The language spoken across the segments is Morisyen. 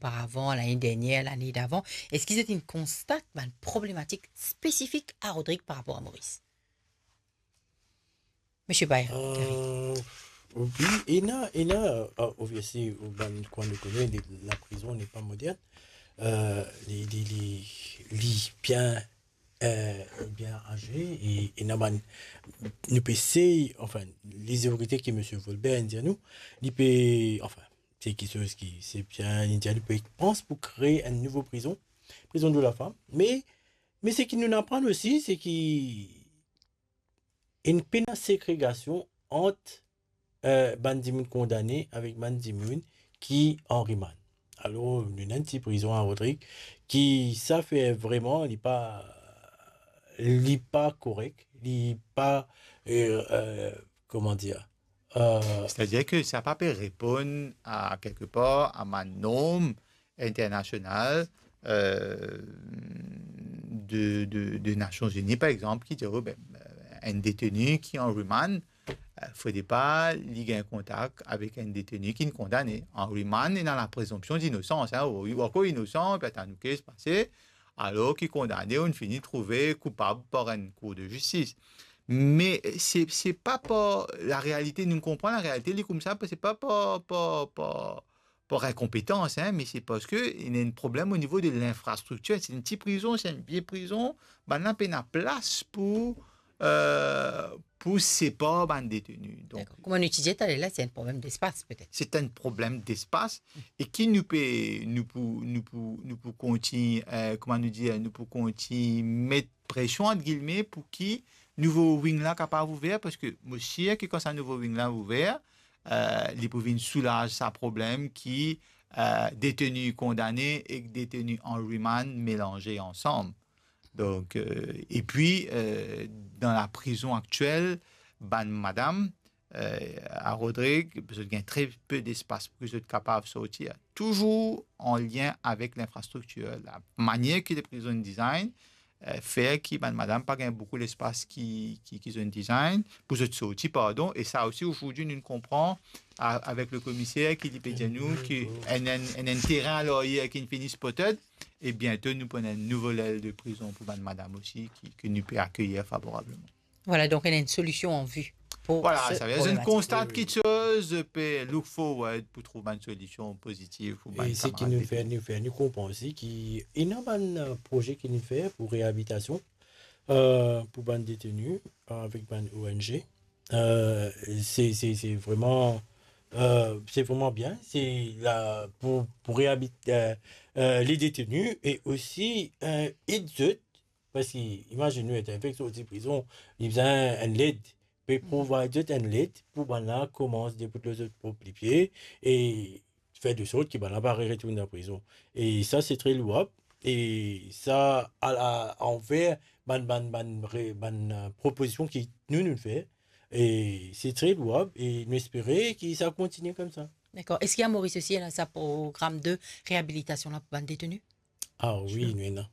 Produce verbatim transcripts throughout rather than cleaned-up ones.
oparavan, lane dernier, lane davan, eski zot inn konstat bann problematik spesifik a Rodrig par rapor a Moris? Misie Bayrou, Gary. Euh, oui, ena, ena, euh, obviously, bann, kouma nou kone, li, laprizon n'est pas moderne. Euh, li, li, li, li bien, euh, bien aze, e, e ena bann, nou pe sey, anfin, lezorite ki misie Volbert inn dir nou, li pe, anfin, se kiksoz ki, se bien, li dir, nou pe pans pou kree enn nouvo prizon, prizon de la femme. Me, me seki nou'nn aprann osi, se ki ena pena segregasion ant, euh, bann dimoun kondane avek bann dimoun ki an rimand. Alor, nou ena enn ti prizon a Rodrig ki sa fer vreman, li pa, li pa korek, li pa, euh, euh, kouma dir, euh, Setadir ki sa pa pe reponn a, kelkepar, a bann norm internasional, euh, de, de, de Nasion Zini, par exanp, ki dir, oh, ben, euh, enn deteni ki an rimand, euh, fode pa li gagn kontak avek enn deteni ki kondane. An rimand, ena laprezonpsion dinosans, hein, ou, ou ankor inosan, petet enn kat kas pase, alor ki kondane, ou'nn fini trouve koupab par enn kour de zistis. Me se, se pa par larealite, nou konpran larealite, li koumsa, se pa par, par, par, par inkonpetans, hein, me se parski ena enn problem o nivo de linfrastriktir. Se enn ti prizon, se enn vie prizon, bannla pena plas pou, euh, pou separ bann deteni. Donk, dakor. Kouma nou ti dir taler la, se enn problem despas, petet. Se enn problem despas, e ki nou pe, nou pou, nou pou, nou pou kontign, euh, kouma nou dir, nou pou kontign met presion, ant gilme, pou ki nouvo wing la kapav ouver, parski mo sir ki kan sa nouvo wing la ouver, euh, li pou vinn soulaz sa problem ki, euh, deteni kondane ek deteni an rimand melanze ansam. Donk, euh, epi, euh, dan laprizon aktiel, bann madam, euh, a Rodrig, zot gagn tre pe despas pou zot kapav sorti. Touzour an lien avek linfrastriktir, lamanier ki leprizon design, euh, fer ki bann madam pa gagn boukou lespas ki, ki, ki zot inn design, pou zot sorti, pardon, e sa osi, ozordi, nou konpran, a-, avek le komiser ki li pe dir nou ki enn, enn, enn, enn terin a laryer ki finn fini spotted, e biento nou pou ena enn nouvo lel de prizon pou bann madam osi, ki, ki nou pe akeyir favorableman. Voilà, donk ena enn solision an vi pou... Voilà, se sa ve dir, zot inn konstat kiksoz, pe look forward pou trouv bann solision pozitiv pou bann kamarad. E seki nou fer, nou fer, nou konpran osi ki ena bann, euh, proze ki nou fer pou reabilitasion, euh, pou bann deteni, euh, avek bann O N G. Euh, se, se, se vreman, euh, se vreman bien. Se la pou, pou reabilite, euh, euh, le deteni e osi, euh, ed zot Parski, imazinn ou, enn fek sorti prizon, li bizin enn led, pe provide zot enn led pou bannla koumans debout lor zot prop lipie e fer de sort ki bannla pa re retourn dan prizon. E sa, se tre louab. E sa, a, a, anver bann, bann, bann re-, bann, euh, propozision ki nou, nou fer, e se tre louab e nou espere ki sa kontigne koumsa. Dakor. Eski a Moris osi, ena sa program de reabilitasion la pou bann deteni? Ah wi, nou ena.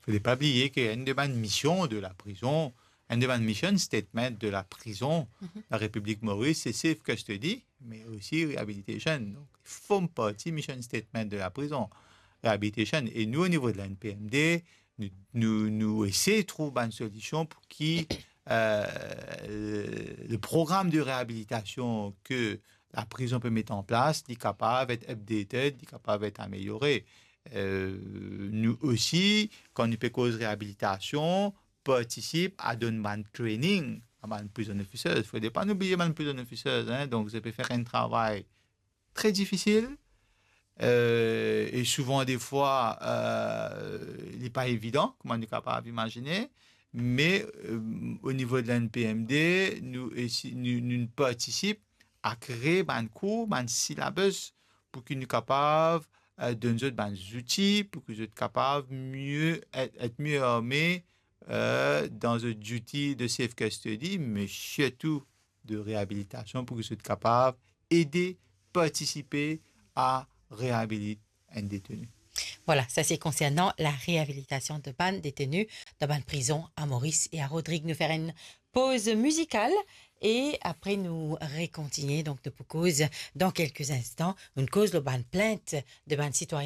Fode pa bliye ki enn de bann mision de laprizon, enn de bann mission statement de laprizon, Larepiblik Moris, se safe custody, me osi rehabilitation. Donk, li form parti mission statement de laprizon, rehabilitation. E nou, o nivo de la N P M D, nou, nou, nou esey trouv bann solision pou ki, euh, le, le program de reabilitasion ke laprizon pe met an plas, li kapav et updated, li kapav et ameliore. Euh, nou osi, kan nou pe koz reabilitasion, partisip a donn bann training a bann prison officers. Fode pa nou bliye bann prison officers, hein, donk zot pe fer enn travay tre difisil, euh, e souvan defwa, euh, li pa evidan, kouma nou kapav imazine, me, euh, o nivo de la N P M D, nou esi-, nou, nou partisip a kree bann kour, bann syllabus, pou ki nou kapav, euh, donn zot bann zouti, pou ki zot kapav mie, et, et mie arme, euh, dan zot duty de safe custody, me sirtou de reabilitasion, pou ki zot kapav ede partisipe a reabilit enn deteni. Voilà, sa se konsernan la reabilitasion de bann deteni dan bann prizon a Moris e a Rodrig. Nou fer enn poz mizikal e apre nou rekontinie. Donk, nou pou koz dan kelke instan, nou koz lor bann plint de bann sitwayin